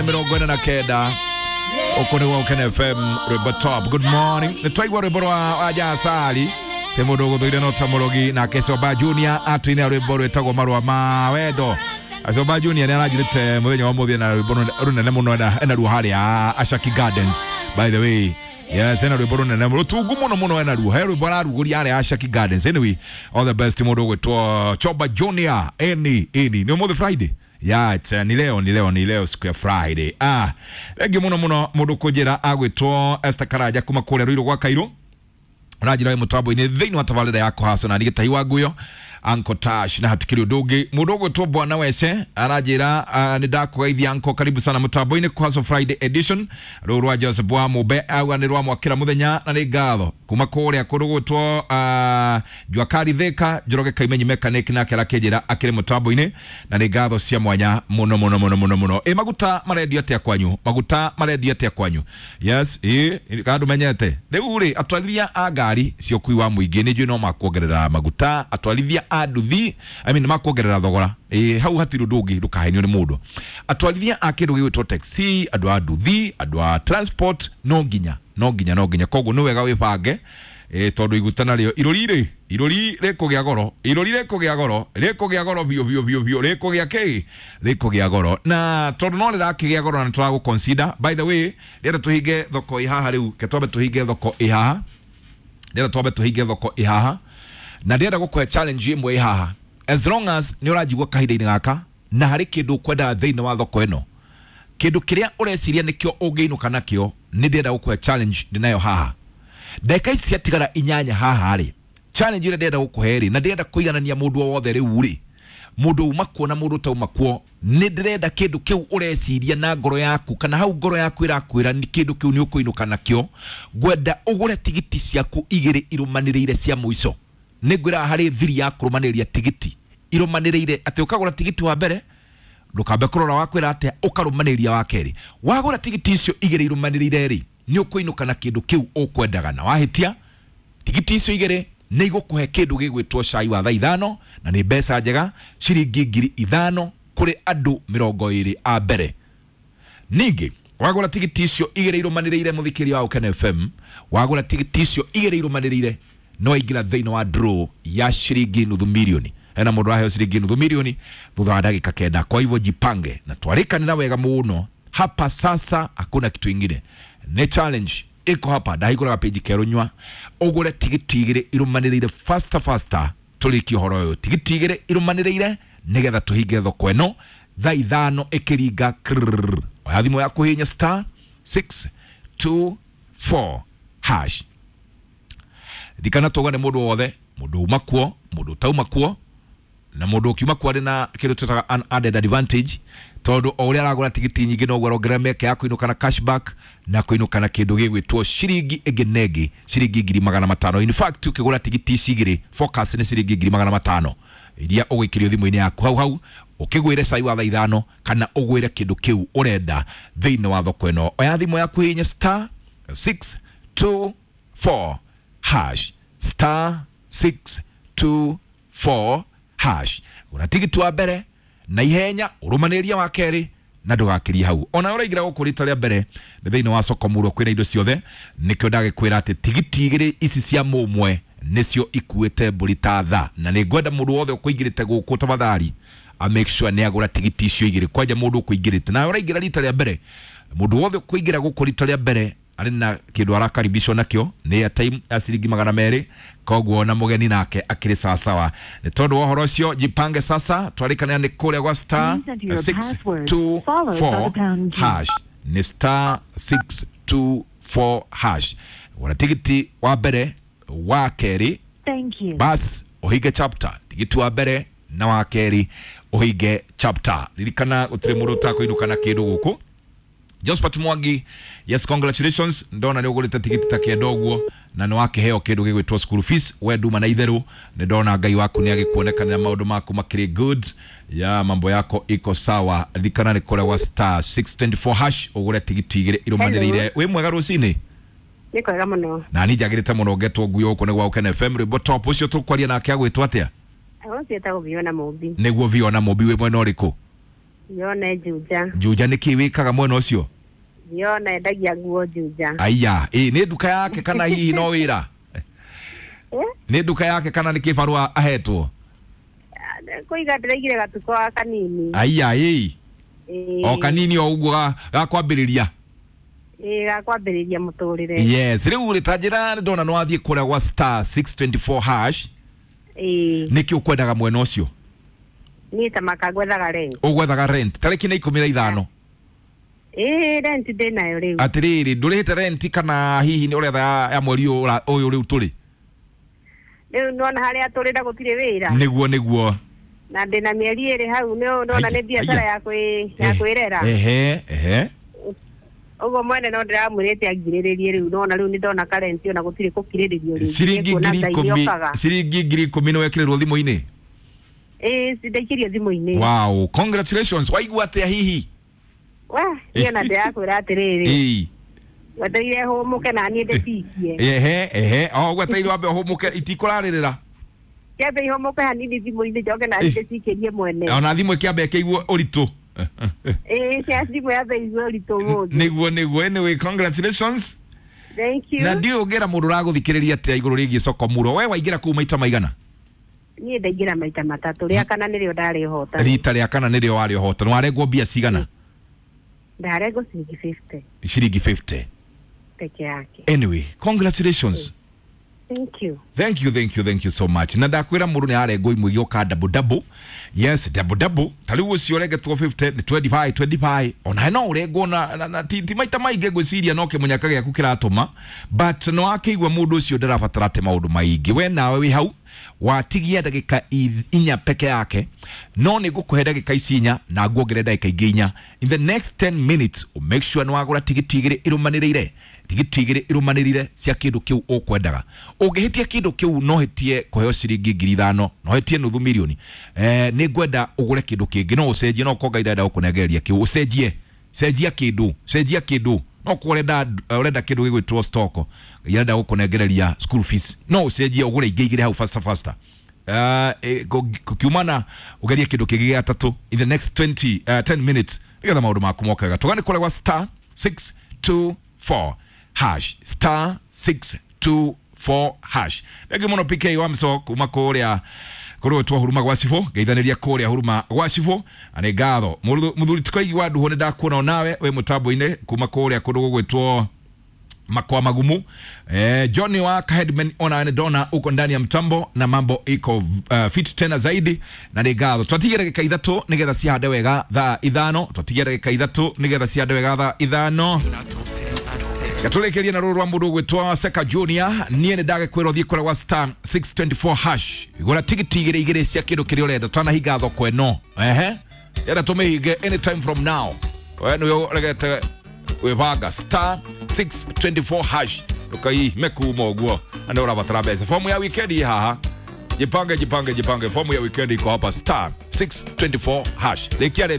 49 uko nĩ Woken FM rwĩmbo top. Good morning. Nĩ twaigua rwĩmbo rwa Wajasari te mũndũ ũgũthũire no ta mũrogi, nake Coba Junior atũinĩra rwĩmbo rwĩtagwo Marũa ma Wendo. Coba Junior nĩ aranjĩrĩte mũthenya wa mũthĩ na rwĩmbo rũnene mũno enaruo harĩa Ashaki Gardens, by the way. Yes, ena rwĩmbo rũnene rũtungu mũno mũno enaruo, he rwĩmbo ararugũria harĩa Ashaki Gardens. Anyway, all the best mũndũ ũgwĩtwo Choba Junior. Eni nĩ ũmũthĩ Friday. Yeah, it's, ni leo ni leo ni leo siku ya Friday. Ah, thengiũ mũno mũno mũndũ kũnjĩra agwĩtwo Esther Karanja kuma kũrĩa Ruiru gwa Kairu, ũranjĩra wĩ mũtambo-inĩ thĩinĩ wa tabarĩra ya kũhaco na nĩ gĩtahi wa nguyo Uncle Tash, na hatikĩrĩ ũndũ ũngĩ. Mũndũ ũgwĩtwo Bwana Wece aranjĩra nĩ ndakũgeithia uncle, karibu sana mũtambo-inĩ kũhaco Friday edition. Rũũ rwa Joseph wa Mũmbe auga nĩ rwamwakĩra mũthenya na nĩ ngatho kuma kũrĩa kũndũ gwĩtwo Juakari Thika. Njoroge Kaimenyi mechanic nake arakĩnjĩra akĩrĩ mũtambo-inĩ na nĩ ngatho cia mwanya mũno mũno mũno mũno mũno. Ĩ maguta marendio atĩa kwanyu? Maguta marendio atĩa kwanyu? Yes, ĩ kana ndũmenyete rĩu rĩ, atwarithia a ngari cia ũkui wa mũingĩ nĩ njũĩ no makuongerera maguta, atwarithia a nduthi, I mean, makuongerera thogora. Ĩ hau hatirĩ ũndũ ũngĩ, ndũkahenio nĩ mũndũ. Atwarithia a kĩndũ gĩgwĩtwo taxi, andũ a nduthi, andũ a transport, no nginya no nginya no nginya, koguo nĩ wega wĩbange tondũ iguta narĩo irũri rĩ, irũri rĩkũgĩa goro, irũri rĩkũgĩa goro, rĩkũgĩa goro biũ biũ biũ biũ, rĩkũgĩa kĩ, rĩkũgĩa goro, na tondũ no rĩrakĩgĩa goro na nĩ tũragũ consider. By the way, rĩenda tũhinge thoko ĩ haha rĩu, ke twambe tũhinge thoko ĩ haha, ndĩrenda twambe tũhinge thoko ĩ haha, na ndĩrenda gũkũhe challenge ĩmwe ĩ haha. As long as nĩ ũranjigua kahinda-inĩ gaka na harĩ kĩndũ ũkwendaga thĩinĩ wa thoko ĩno, kĩndũ kĩrĩa ũreciria nĩkĩo ũngĩinũka nakĩo, nĩ ndĩrenda gũkũhe challenge ndĩnayo haha ndagĩka ici ciatigara 8 haha rĩ. Challenge ĩrĩa ndĩrenda gũkũhe rĩ, na ndĩrenda kũiganania mũndũ o wothe rĩu rĩ, mũndũ uma kuo na mũndũ ũtauma kuo, nĩ ndĩrenda kĩndũ kĩu ũreciria na ngoro yaku, kana hau ngoro yaku ĩrakwĩra nĩ kĩndũ kĩu nĩ ũkũinũka nakĩo, ngwenda ũgũre tigiti ciaku 2 irũmanĩrĩire cia mũico. Nĩ ngwĩraga harĩ thiri ya kũrũmanĩrĩria tigiti irũmanĩrĩire, atĩ ũkagũra tigiti wa mbere ndũkambe kũrora wakwĩra atĩa, ũkarũmanĩrĩria wa kerĩ. Wagũra tigiti icio 2 irũmanĩrĩire rĩ, nĩ ũkũinũka na kĩndũ kĩu ũkwendaga, na wahĩtia tigiti icio 2 nĩ igũkũhe kĩndũ gĩgwĩtwo cai wa thaa 5, na nĩ mbeca njega ciringi 5,000 kũrĩ andũ 20 a mbere. Ningĩ wagũra tigiti icio 2 irũmanĩrĩire, mũthikĩria wa Ũkene FM, wagũra tigiti icio 2 irũmanĩrĩire no waingĩra thĩinĩ wa draw ya ciringi nuthu milioni. Hena mũndũ aheo ciringi nuthu milioni thutha wa ndagĩka 9. Kwa hivyo jipange na twarĩkanĩra wega mũno hapa sasa, hakuna kitu ingine, nĩ challenge iko hapa. Ndahingũraga page kerũ nyua ũgũre tigiti 2 irũmanĩrĩire faster faster, tũrĩkie ũhoro ũyũ. Tigiti 2 irũmanĩrĩire nĩgetha tũhinge thoko ĩno thaa 5 ĩkĩringa krrrr. Oya thimũ yaku hihinya star 624 hash. Ririkana tuga nĩ mũndũ wothe, mũndũ uma kuo, mũndũ ũtauma kuo, na mũndũ ũkiuma kuo arĩ na kĩndũ twĩtaga an added advantage, tondũ o ũrĩa aragũra tigiti nyingĩ noguo arongerera mĩeke ya kũinũka na cashback na kũinũka na kĩndũ gĩgwĩtwo ciringi ĩngĩ na ĩngĩ, ciringi 500,000. In fact, ũkĩgũra tigiti ici 2 focus nĩ ciringi 500,000 iria ũgũikĩrio thimũ-inĩ yaku hau hau, ũkĩgwĩre cai wa thaa 5 kana ũgwĩre kĩndũ kĩu ũrenda thĩinĩ wa thoko ĩno. Oya thimũ yaku hihinya star 624 hash, star 624 hash. Gũra tigiti wa mbere na ihenya, ũrũmanĩrĩria wa kerĩ na ndũgakĩrie hau. Ona ũraingĩra gũkũ rita rĩa mbere nĩ thĩinĩ wa soko mũrũ kwĩna indo ciothe, nĩkĩo ndagĩkwĩra atĩ tigiti 2 ici cia mũmwe nĩcio ikuĩte mbũri ta tha, na nĩ ngwenda mũndũ wothe ũkũingĩrĩte gũkũ tafadhali a make sure nĩ agũra tigiti icio 2. Kwanja mũndũ ũkũingĩrĩte na ũraingĩra rita rĩa mbere, mũndũ wothe ũkũingĩra gũkũ rita rĩa mbere arĩ na kĩndũ arakaribishwo nakĩo nĩ airtime ya ciringi 200, koguo na mũgeni nake akĩrĩ sawasawa. Nĩ tondũ wa ũhoro ũcio jipange sasa, twarĩkanĩra nĩ kũrĩa gwa star 624 hash, nĩ star 624 hash. Gũra tigiti wa mbere wa kerĩ, bas ũhinge chapter. Tigiti wa mbere na wa kerĩ ũhinge chapter. Ririkana gũtirĩ mũndũ ũtakũinũka na kĩndũ gũkũ. Josephat Mwangi, yes, congratulations, ndona nĩ ũgũrĩte tigiti ta 9 ũguo na nĩ wakĩheo kĩndũ gĩgwĩtwo school fees. We nduma na itherũ, nĩ ndona Ngai waku nĩ agĩkuonekanĩra maũndũ maku makĩrĩ good, ya mambo yako iko sawa. Ririkana nĩ kũrĩa gwa star 624 hash ũgũre tigiti 2 irũmanĩrĩire. Wĩ mwega rũcinĩ? Nĩ kwega mũno. Na niĩ njagĩrĩte mũno ngetwo nguo gũkũ nĩ gwa Ũkene FM rwĩmbo top. Ũcio tũkwaria nake agwĩtwo atĩa? Ũcio etagwo Viona Mũmbi. Nĩguo Viona Mũmbi, wĩ mwena ũrĩkũ? Yone Juja. Juja nä kä wä kaga mwena å cio? Yone endagia nguo Juja. Aya, ä nä nduka yake kana hihi no wä ra? Eh? Nä nduka yake kana nä kä barua ahetwo? Kũiga ndĩraigire gatuko kanini. Aya, ä Ĩĩ. o kanini o ũguo ga kwambĩrĩria. Ĩĩ, ga kwambĩrĩria mũtũrĩre. Yes, rĩu rĩ ta njĩra nĩ ndona nĩ wathiĩ kũrĩa gwa star 624 hash. Ĩĩ. Nĩkĩ ũkwendaga mwena ũcio? Niĩ ta makangwethaga rent. Ũgwethaga rent tarĩki nĩ 15. Ĩĩ, rent ndĩnayo rĩu. Atĩrĩrĩ, ndũrĩhĩte rent kana hihi nĩ ũretha ya mweri ũyũ ũyũ rĩu tũrĩ? Rĩu nĩwona harĩa tũrĩ na gũtirĩ wĩra. Nĩguo, nĩguo. Na ndĩna mĩeri 2 hau, nĩwona Aya, nĩ biacara aya. ya kwĩrera. Ehe, ehe. Ũguo mwene no ndĩramwĩrĩte angirĩrĩrie rĩu, nona rĩu nĩndona karenti ona gũtirĩ gũkirĩrĩrio rĩngĩ. Ciringi Nĩkuona ngiri Ngai ikũmi nĩokaga. Ciringi 10,000 nĩ wekĩrĩrwo thimũ-inĩ? Ĩĩ, ndaikĩrio thimũ-inĩ. Wow, congratulations. Waigua atĩa hihi? We, niĩ ona ndĩrakwĩra atĩrĩrĩ, Ĩĩ. wetereire hũmũke na niĩ ndĩcikie. Ehe, ehe, o gwetereire wambe ũhũmũke, itikũrarĩrĩra. Kĩambe ihũmũke hanini thimũ-inĩ, njoke na niĩ ndĩcikĩrie mwene. Ona thimũ ĩkĩambe ĩkĩigua ũritũ. Ĩĩ, cia thimũ yambe igue ũritũ ũmũthĩ. Nĩguo, nĩguo. Anyway, congratulations. Thank you. Na ndiũĩ ũngĩra mũndũ ũragũthikĩrĩria atĩa igũrũ rĩgiĩ soko muro. We waingĩra kũu maita maigana? Niĩ ndaingĩra maita 3, rĩa kana nĩrĩo ndarĩ hota. Rita rĩa kana nĩrĩo warĩ ũhota. Nĩ warengwo mbia cigana? Ndarengwo ciringi 50. Ciringi 50 peke yake. Anyway, congratulations. Thank you. Thank you, thank you, thank you so much. Na ndakwĩra mũndũ nĩ arengwo imwe igĩũka double double. Yes, double double. Ta rĩu ũcio ũrengetwo 50 nĩ 25 25. Ona no ũrengwo na ti maita maingĩ ngwĩciria no kĩmũnyaka gĩaku kĩratũma. But no akĩigua mũndũ ũcio ndarabatara atĩ maũndũ maingĩ. We nawe wĩ hau watigia ndagĩka 4 peke yake, no nĩ ngũkũhe ndagĩka ici 4 na nguongerere ndagĩka ingĩ 4. In the next 10 minutes make sure nĩ wagũra tigiti 2 irũmanĩrĩire, tigiti 2 irũmanĩrĩire cia kĩndũ kĩu ũkwendaga. Ũngĩhĩtia kĩndũ kĩu no hĩtie kũheo ciringi 5,000, no hĩtie nuthu milioni. Nĩ ngwenda ũgũre kĩndũ kĩngĩ, no ũcenjie, no ũkorwo Ngai ndarenda gũkũnengereria kĩu, ũcenjie, cenjia kĩndũ, cenjia kĩndũ. No korwo ũrenda kĩndũ gĩgwĩtwo stock, Ngai arenda gũkũnengereria school fees, no ũcenjie ũgũre ingĩ 2 hau faster faster. Kukiumana ũgerie kĩndũ kĩngĩ gĩa 3 in the next 10 minutes nĩgetha maũndũ maku moke wega. Tũgane kũrĩa gwa star 624 hash, star 624 hash. Thengiũ mũno PK wa Mso kuma kũrĩa kũrĩa huruma gwa cibũ, ngeithanĩria kũrĩa huruma gwa cibũ, na nĩ ngatho. Mũthuri tikoigi wa nduho nĩ ndakuona onawe wĩ mũtambo-inĩ kuma kũrĩa kũndũ gũgwĩtwo Makwa Magumu. Johnny wa Headman ona nĩ ndona uko ndani ya mtambo na mambo iko fit tena zaidi, na nĩ ngatho. Twatigia ndagĩka 3 nĩgetha cihande wega thaa 5. Twatigia ndagĩka 3 nĩgetha cihande wega thaa 5. Gatũrĩkĩrie na rũrũ rwa mũndũ ũgwĩtwo Seka Junior. Niĩ nĩ ndagĩkwĩra ũthiĩ kũrĩa gwa star 624 hash, gũra tigiti 2 2 cia kĩndũ kĩrĩa ũrenda. Twanahinga thoko ĩno, ehe, enda tũmĩhinge anytime from now. We nĩwe ũregete wĩbanga star 624 hash, ndũkaime kuma ũguo na nĩ ũrabatara mbeca. Fomu ya weekend ĩ haha, jipange, jipange, jipange. Fomu ya weekend iko hapa, star 624 hash. Rĩkia.